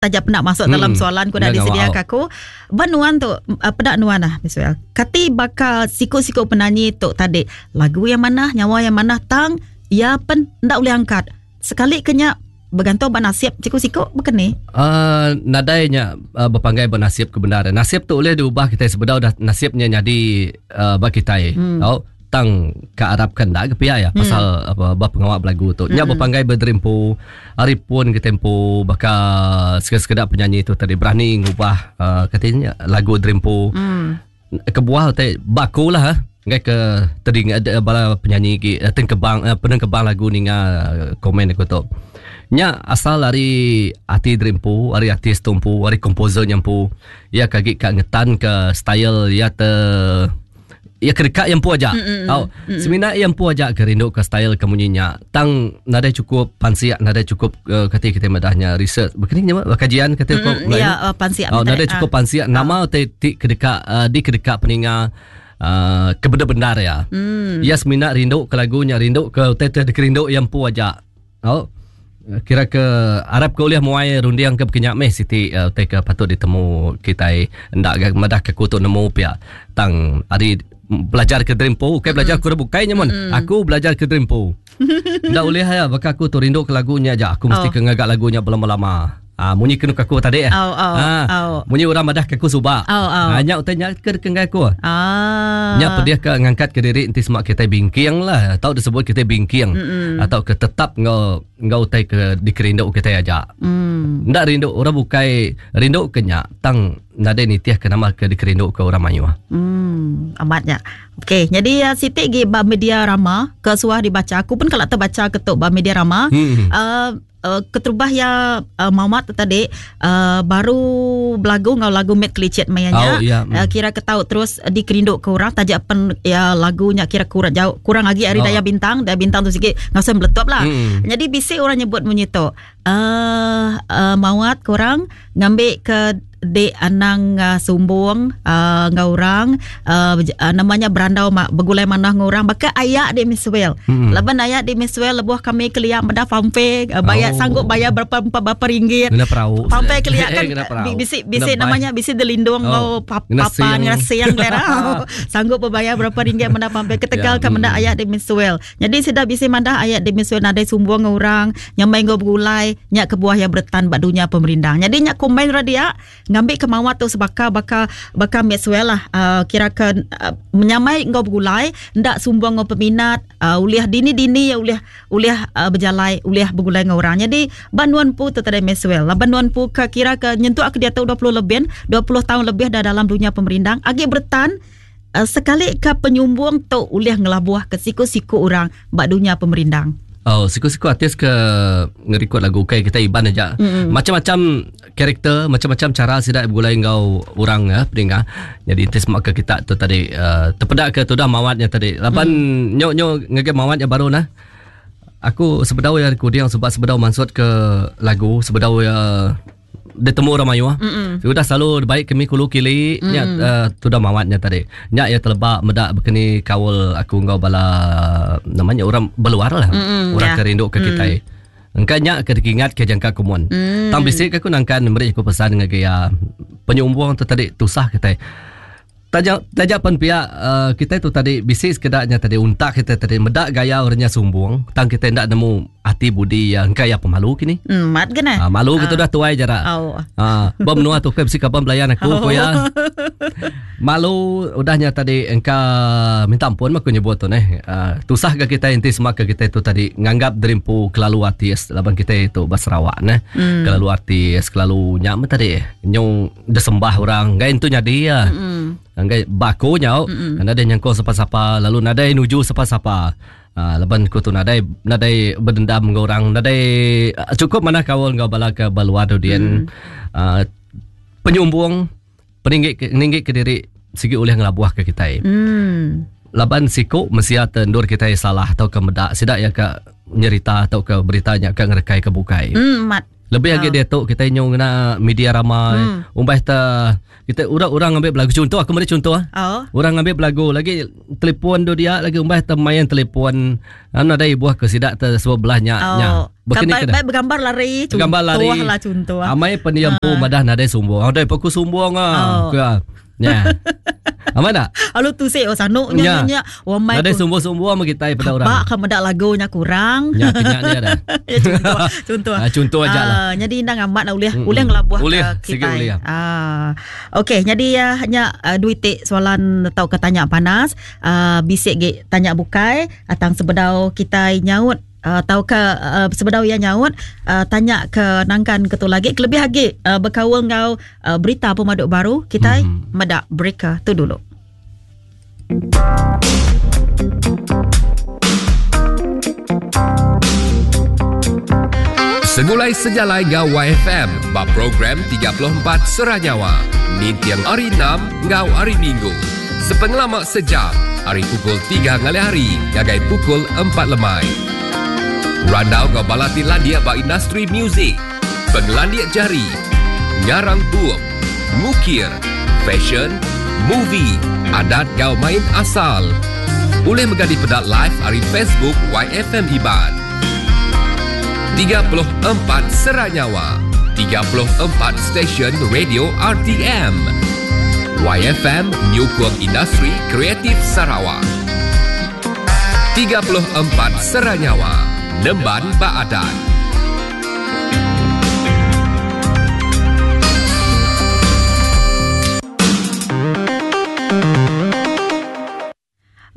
Taja penda masuk hmm. dalam soalan ku dah disedia ke aku. Ba nuan tu eh, peda nuan lah Miswell. Kati baka siku-siku penanyi tu tadi lagu yang manah, nyawa yang manah tang ya pen ndak boleh angkat. Sekali kenya bergantung ba nasib siku-siku bukan ni? Uh, nadai nya uh, berpanggai ba nasib ke benar. Nasib tu boleh diubah kita sebedau dah nasibnya jadi uh, ba kita. Hmm. Oh, Tang ka arap ka enda ke pia ya pasal hmm. apa ba pengawa belagu tu. Nya hmm. bepanggai bederempu ari pun ke tempo baka sekeda-sekeda penyanyi tu tadi berani ngubah uh, katanya lagu derempu. Hmm. Kebuah te baku lah ha. Ngai ke tadi ada bala penyanyi ki eh, tengkebang eh, penengkebang lagu ninga eh, komen aku tu. Nya asal ari ati derempu, ari artis tu empu, ari komposer nya empu. Ya kagi ka ngetan ke style ya te Iya ke deka iya empu aja. Tau. Semina iya empu aja ke rindu ke style ke munyi nya. Tang nadai cukup pansik, nadai cukup uh, kati kita madah nya research. Bekeni nya kajian kati ko mm, Ya, uh, pansik. Oh, nadai cukup pansik uh. nama ti ti ke deka uh, di ke deka peninga uh, ke benar-benar ya. Mm. Iya semina rindu ke lagu nya, rindu ke utai ti dikerindu iya empu aja. Tau. Kira ke arap ke ulih muai runding ke bekenya meh siti uh, utai ke patut ditemu kitai enda ga madah ke aku tu nemu pia. Tang ari belajar ke diri empu ukai belajar ke orang bukai nya mun. Aku belajar ke diri empu. Enda ulih ya baka aku tu rindu ke lagu nya aja aku mesti oh. ke ngaga lagu nya belama-lama. Ah munyi kenu ke aku tadi eh. Oh, oh, ah, oh. Munyi orang madah ke aku suba. Oh, oh. Ah, nya utai nya ke kenggai aku. Ah. Nya pedih ke ngangkat ke diri enti semak kitai bingking lah atau disebut kitai bingking mm -mm. atau ke tetap enggau enggau utai ke dikerindu kitai aja. Mm. Enda rindu orang bukai rindu ke nya tang nadai nitih ke nama ke dikerindu ke orang mayuh. Hmm, amat nya. Okey, jadi uh, siti gi ba media rama ke suah dibaca aku pun kalau terbaca ke tu ba media rama. Hmm. Uh, Uh, keterubah ya uh, Mamat tu tadi uh, baru belagu ngau lagu Met Kelicit maya nya. Oh, ya. Uh, kira ke tau terus dikerindu ke orang taja pen ya lagunya kira kurang jauh kurang lagi ari Oh. Daya Bintang, Daya Bintang tu sikit ngau meletup lah. Hmm. Jadi bisi orang nyebut munyi tu. Uh, uh, Mawat korang ngambil ke dek anang uh, sumbung uh, enggau orang uh, uh, namanya berandau ma, begulai manah enggau orang baka ayak dek Miswell. Hmm. Laban ayak dek Miswell lebuh kami kelia meda fanfare uh, bayar Oh. sanggup bayar berapa berapa, berapa ringgit. Ngena perahu. Fanfare kelia kan Ngena perahu. bisi bisi Ngena namanya bisi delindung Oh. enggau pap, Ngena papan siang. ngena siang lera. sanggup berbayar berapa ringgit meda fanfare ketegal Ya, ke meda hmm. ayak dek Miswell. Jadi sida bisi madah ayat di Miswell nadai sumbung enggau orang, nyamai enggau begulai, nya kebuah iya beretan ba dunya pemerindang. Jadi nya komen ra dia ngambi ke mawat tu sebaka baka baka Maxwell lah uh, kira ke uh, menyamai enggau begulai, enda sumbung enggau peminat, uh, ulih dini-dini ya ulih ulih uh, bejalai, ulih begulai enggau orang. Jadi ba nuan pu tu tadi Maxwell, laban nuan pu ke kira ke nyentuk ke diatu 20 lebih, 20 tahun lebih dah dalam dunya pemerindang, agi beretan Uh, sekali ke penyumbung tu ulih ngelabuh ke siku-siku orang ba dunya pemerindang. Oh, siku-siku artis ke ngerikod lagu ukai kita Iban aja. Mm-mm. Macam-macam karakter, macam-macam cara sida begulai enggau orang ya, peninga. Jadi enti semak ke kita tu tadi uh, terpeda ke tudah mawatnya tadi. Laban mm. nyo nyo ngege mawatnya baru nah. Aku sebedau ya recording sebab sebedau mansut ke lagu, sebedau ya ditemu orang mayuh. Mm-mm. Udah selalu baik kami kulu kili Mm. nya uh, tudah mawatnya tadi. Nya ya telebak meda bekeni kaul aku enggau bala namanya orang beluar lah. Mm-mm, Orang ya. ke rindu ke kitai. Engka nya ke dikingat ke jangka kumun. Mm. Tang bisi ke aku nangkan meri aku pesan ngagai ya penyumbung tu tadi tusah kitai. Taja taja pen pia uh, kita tu tadi bisi sekedanya tadi untak kita tadi meda gaya orangnya sumbung tang kita ndak nemu ati budi ya engka ya pemalu kini. Hmm, mat kena. Ah, malu kita dah tuai jarak. Oh. Ah, ba menua tu ke bisi kaban belayan aku Oh. ko ya. Malu udahnya tadi engka minta ampun mah aku nyebut tu neh. Ah, tusah ke kita enti semaka kita tu tadi nganggap derimpu kelalu artis laban kita itu ba Sarawak neh. Hmm. Kelalu artis, kelalu nya mah tadi nyu disembah orang. Enggai entu nyadi ya. Hmm. Enggai baku nyau, nadai nyangkau sapa-sapa lalu nadai nuju sapa-sapa. Ah, laban ku tu nadai nadai berdendam enggau orang, nadai ah, cukup manah kaul enggau bala ke ba luar tu dian. Ah, penyumbung peninggi ke, ninggi ke diri sigi ulih ngelabuh ke kitai. Hmm. Laban siku mensia te endur kitai salah atau ke meda sida ya ke nyerita atau ke berita nya ke ngerekai ke bukai. Hmm, mat. Lebih agi diatu kitai nyu ngena media rama umbas te kita orang-orang ngambi belagu contoh aku meri contoh ah. Oh. Orang ngambi belagu lagi telefon tu dia lagi umbas te main telefon anu nadai ibuh ke sida te sebelah nya Oh. nya. Bekeni Baik, ke baik bergambar lari contoh Gambar lari. lah contoh. Amai pendiam pu madah nadai sombong. Adai paku sombong ah. Oh. Ke. Nya. Amai tak? Lalu tu sik oh sanu nya Nya. nya. Wah mai Nadai sombong-sombong sama kita pada orang. Bak ke medak lagunya kurang. Nya kenyak dia dah. ya, contoh, contoh. Ah, contoh aja lah. Ah, jadi ndang amat nak ulih Mm-mm. ulih ngelabuh Ulih, ke sigi kita. ulih. Ah. Okey, jadi ya nya duit tik soalan atau ke tanya panas, bisik ge tanya bukai atang sebedau kita nyaut atau ke sebedau ia nyaut tanya ke nangkan ke tu lagi kelebih lagi berkaul ngau berita pemaduk baru kita Mhm. medak breaker tu dulu. Segulai sejalai ngau YFM ba program 34 Seranyawa. Nintiang hari 6 ngau hari Minggu. Sepengelama sejam, hari pukul 3 ngalih hari, ngagai pukul 4 lemai. Randau ngau balati landia ba industri muzik, pengelandia jari, ngarang bup, ngukir, fashion, movie, adat gau main asal. Boleh megadi pedak live hari Facebook YFM Iban. 34 Seranyawa 34 Stesen Radio RTM YFM Nyukung Industri Kreatif Sarawak 34 Seranyawa Nemban Baadat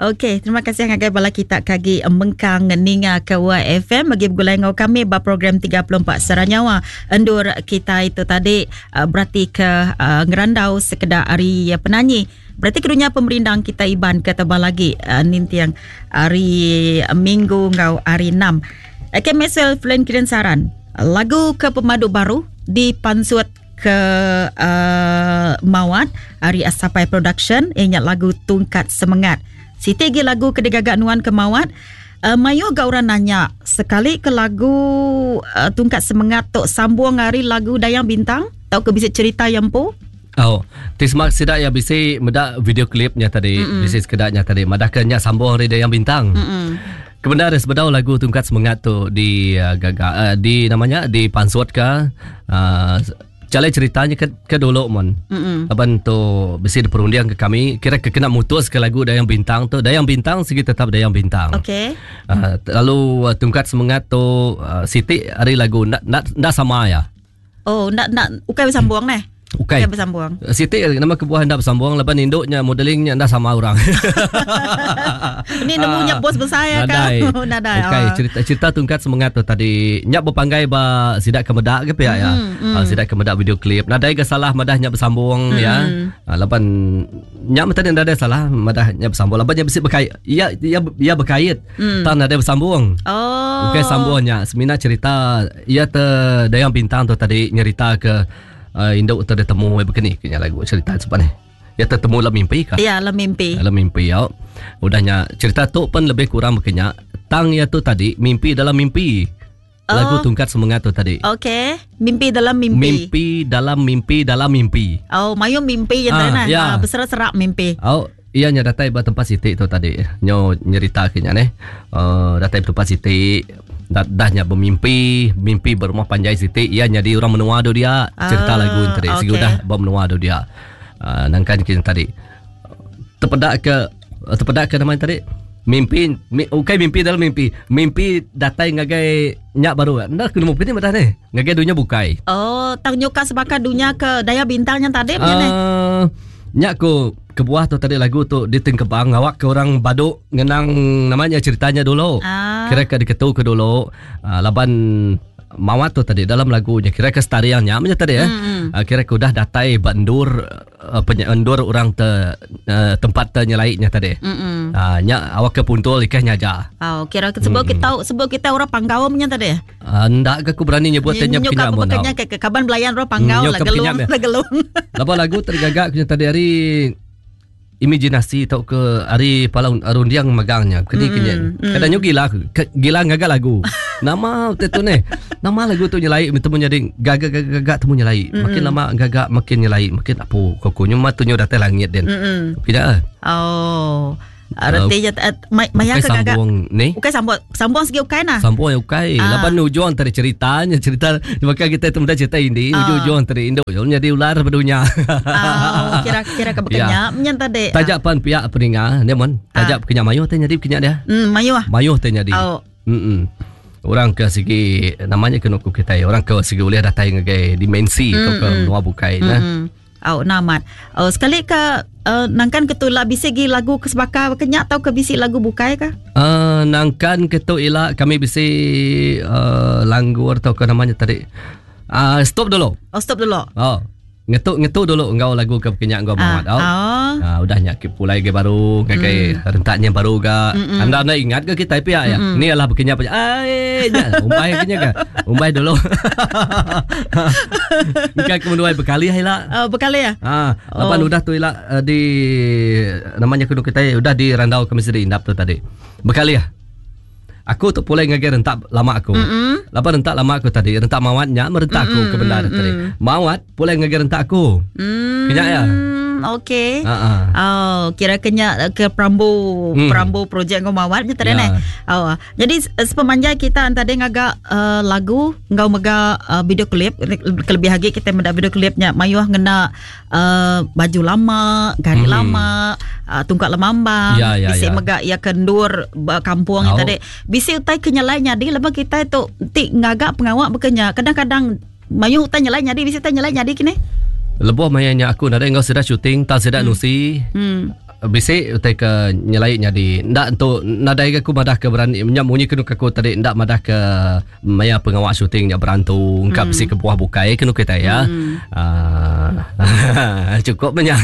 Okey, terima kasih ngagai bala kita kagi mengkang ninga ke YFM bagi bergulai ngau kami ba program 34 Seranyawa. Endur kita itu tadi berarti ke ngerandau sekedar hari penanyi. Berarti kedunya pemerindang kita Iban ke tebal lagi nintiang hari Minggu ngau hari 6. Okey, Maxwell Flen Kirin Saran. Lagu ke pemadu baru di Pansut ke Mawat hari Asapai Production ingat lagu Tungkat Semengat. Siti gi lagu ke digagak nuan ke Mawat. Mayu ga orang nanya sekali ke lagu Tungkat Semengat tok sambung hari lagu Dayang Bintang tau ke bisa cerita yang po? Oh, tismak sidak ya bisi medak video klipnya tadi, bisi sekedaknya tadi madahkannya sambung hari Dayang Bintang. Kebenaran sebedau lagu Tungkat Semengat tu di gagak di namanya di pansut ke Calai ceritanya ke dulu mon. Aban tu besi diperundiang ke kami kira ke kena mutus ke lagu Dayang Bintang tu. Dayang Bintang segi tetap Dayang Bintang. Okey. Lalu Tungkat Semengat tu Siti hari lagu nak sama ya. Oh, nak ukai bersambung neh. Ukai. Ukai bersambung. Siti nama kebuah ndak bersambung laban induknya modelingnya ndak sama orang. Ini nemunya bos besar ya kan. Nadai. Ukai cerita Tungkat Semengat tu tadi nyak berpanggai ba sidak ke medak ke pihak ya. Sidak ke medak video klip. Nadai ke salah madah nyak bersambung ya. Laban nyak tadi nadai salah madah nyak bersambung. Laban nyak besi berkait. Ya ya berkait. Tak nadai bersambung. Oh. Ukai sambung nyak semina cerita ia te Dayang Bintang tu tadi nyerita ke induk tu dia temu begini kena lagu cerita sebab ni. Dia tertemu dalam mimpi kah? Ya, dalam mimpi. Dalam mimpi ya. Udahnya cerita tu pun lebih kurang berkenyak. Tang ya tu tadi mimpi dalam mimpi. Oh. Lagu Tungkat Semengat tu tadi. Okey, mimpi dalam mimpi. Mimpi dalam mimpi dalam mimpi. Oh, mayu mimpi yang tadi ya. Berserak-serak mimpi. Oh, iya nya datai ba tempat Siti tu tadi. Nyo nyerita kenya ni. Datai tempat Siti. Dah nya bermimpi, mimpi berumah panjai Siti, ia jadi orang menua tu dia. Cerita lagu tadi. Okay. Sigi udah bermenua tu dia. Nangkan kita tadi. Terpedak ke nama tadi? Mimpi, ukai mimpi dalam mimpi. Mimpi datai ngagai nyak baru. Ndak kena mimpi ni madah ni. Ngagai dunia bukai. Oh, tang nyuka sebaka dunia ke Daya Bintang yang tadi punya ni. Nyak ku kebuah tu tadi lagu tu ditengkebang awak ke orang baduk ngenang namanya ceritanya dulu. Kira ke diketu ke dulu laban Mawat tu tadi dalam lagunya kira ke setariangnya macam tadi kira ke udah datai bandur penyendur orang te tempat te nyelaiknya tadi. Nyak awak ke puntul ikah nyaja. Oh, kira ke sebab kita sebab kita orang Panggau punya tadi. Ndak ke aku berani nyebut tanya kenyak mun. Ke kaban belayan orang Panggau lah gelung lah gelung. Laban lagu tergagak punya tadi hari Imajinasi tauka ari pala runding megang nya keni ke nyen. Kada nyu gila ke gila ngaga lagu. Nama utai tu neh. Nama lagu tu nyelai temu nyadi gaga gaga gaga temu nyelai. Makin lama gaga makin nyelai makin apu ko ku nyu ma tu nyu datai langit din. Pida. Oh. Reti nya maya ke gaga. Sambung ni. Ukai sambung sambung sigi ukai nah. Sambung ya ukai. Ah. Laban ujung tadi cerita nya cerita maka kita tu meda cerita ini ah. ujung-ujung tadi induk yo nyadi ular bedunya. Ah, kira kira ke bekenya ya. nyen tadi. Tajak pan pihak peninga ne mon. Tajak ah. bekenya mayuh te nyadi bekenya dia. Hmm, mayuh. Mayuh te nyadi. Oh. Hmm. Orang ke sigi namanya kena ku kita orang ke sigi ulih datai ngagai dimensi mm, ke menua bukai nah. Mm. Au nah amat. Oh, sekali ke uh, nangkan ke tu ila bisi gi lagu ke sebaka ke nya tau ke bisi lagu bukai ka? Uh, nangkan ke tu ila kami bisi uh, langgur tau ke namanya tadi. Uh, stop dulu. Oh, stop dulu. Oh. Ngetu ngetu dulu enggau lagu ke kenya enggau Mawat. Oh. Oh. Uh, udah nya ke pulai ke baru ngagai mm. rentaknya baru ga. Mm-mm. Anda anda ingat ke kita pia ya? Ni adalah bekenya pa. Ai nya umbai kenya ke. Umbai dulu. Engka ke menduai bekali ila. Oh, bekali ya? Ha, laban oh. udah tu ila eh, di namanya kudu kita udah di randau kami sedi indap tu tadi. Bekali ya. Aku tu pulai ngagai rentak lama aku. Mm-hmm. Laban rentak lama aku tadi, rentak mawat nya merentak aku ke bendar mm-hmm. tadi. Mawat pulai ngagai rentak aku. Mm. Kenya ya. Okey. Uh-huh. Oh, kira kenya ke perambu perambu projek ngau mawat nya tadi yeah. Oh, jadi sepemanjai kita tadi ngaga uh, lagu ngau mega uh, video klip kelebih lagi kita meda video klipnya mayuh ngena uh, baju lama, gari hmm. lama, uh, tungkat lemambang, ya, ya, bisi ya. mega ya kendur kampung oh. tadi. Bisi utai ke nyelai nyadi lepas kita tu ti ngaga pengawak bekenya. Kadang-kadang mayuh utai nyelai nyadi bisi utai nyelai nyadi kini. Lebuh maya nya aku nadai enggau sida shooting, tang sida nusi. Bisi utai ke nyelai nyadi. Enda entu nadai ga aku madah ke berani nya munyi kenu ke aku tadi enda madah ke maya pengawa shooting nya berantu engka bisi kebuah bukai kenu kitai ya. Aaa cukup meh nya.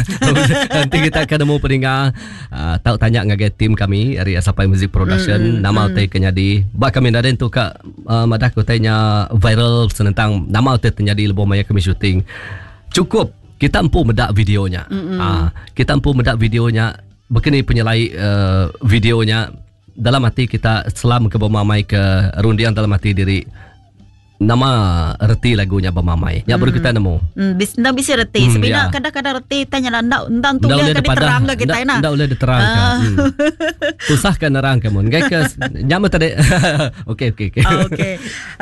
Enti kita ke nemu peninga aaa tau tanya ngagai team kami ari Sapai Music Production nama utai ke nyadi. Ba kami nadai entu ka madah ke utai nya viral senentang nama utai te nyadi lebuh maya kami shooting. Cukup kita empu meda video nya. Aaa kita empu meda video nya bekeni penyelai aaa video nya. Dalam ati kita selam ke bemamai ke runding dalam ati diri nama reti lagu nya bemamai. Nya baru kita nemu. Hmm, bis, enda bisi reti. Hmm, Semina ya. kadang-kadang reti tanya lah enda enda Enda tulih ulih ke dipadah, diterang ke enda, kitai nah. enda ulih diterang ke. Ah. Hmm. Susah ke nerang ke mun. Ngai ke nya meh tadi. Okey okey okey. Okey.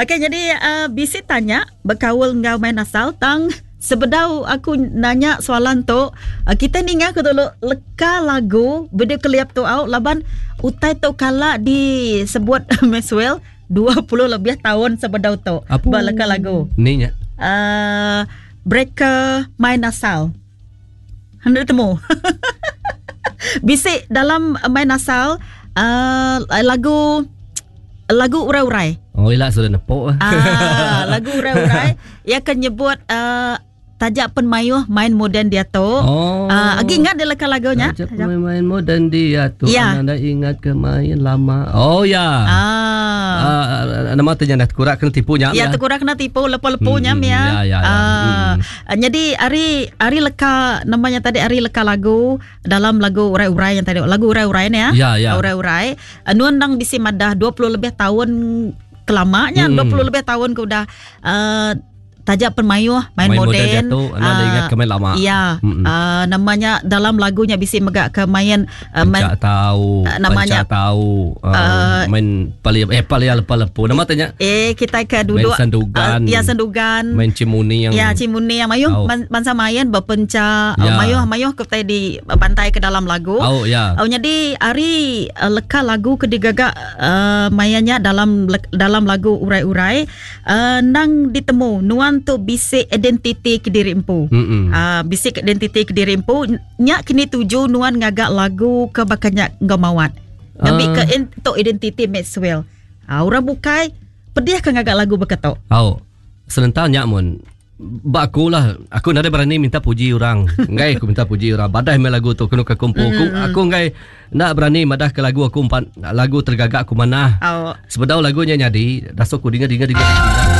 Okey jadi uh, bisi tanya bekaul enggau main asal tang Sebedau aku nanya soalan tu, kita ninga ke dulu leka lagu video klip tu au laban utai tu kala disebut Maxwell 20 lebih tahun sebedau tu ba leka lagu. Ni nya. Uh, breaker main asal. Hendak temu. Bisi dalam main asal uh, lagu lagu urai-urai. Oh ila sudah nepok. Ah, lagu urai-urai ia akan nyebut uh, tajak pen mayuh main moden dia tu. Oh. Agi ingat dia leka lagunya? Tajak pen main moden dia tu. Ya. Anda ingat ke main lama. Oh ya. Ah. Nama tu nya kurang kena tipu nya. Ya, kurang kena tipu lepu-lepu nya ya. Ya, ya, ya. Jadi hari hari leka namanya tadi hari leka lagu dalam lagu urai-urai yang tadi lagu urai-urai ni ya. Ya, ya. Urai-urai. Nuan nang bisi madah 20 lebih tahun kelamanya 20 lebih tahun ke udah tajak penmayuh main, Main moden. moden jatuh, anda Ah, ingat ke main lama. Ya. Namanya dalam lagunya bisi mega ke main main Pencak tahu, namanya pencak tahu, main palia palia lepa-lepu. Nama tanya? Kita ke duduk main sendugan. Ya sendugan. Main cimuni yang Ya cimuni yang mayuh Oh. bangsa main berpencak, Ya. mayuh-mayuh kita di bantai ke dalam lagu. Oh ya. Oh, jadi hari leka lagu ke digagak mayanya dalam dalam lagu urai-urai nang ditemu nuan tu bisik identiti ke diri empu. Bisik identiti ke diri empu nya kini tuju nuan ngagak lagu ke bakanya enggau mawat. Ngambi ke untuk identiti Maxwell. Orang bukai pedih ke ngagak lagu beketok. Oh. Selentar nya mun ba aku lah, aku nadai berani minta puji orang. Enggai aku minta puji orang. Badai meh lagu tu kena ke kumpu. Aku, aku enggai nak berani madah ke lagu aku empat lagu tergagak aku manah. Oh. Sebedau lagunya nyadi, dasuk aku dinga dinga dinga. dinga.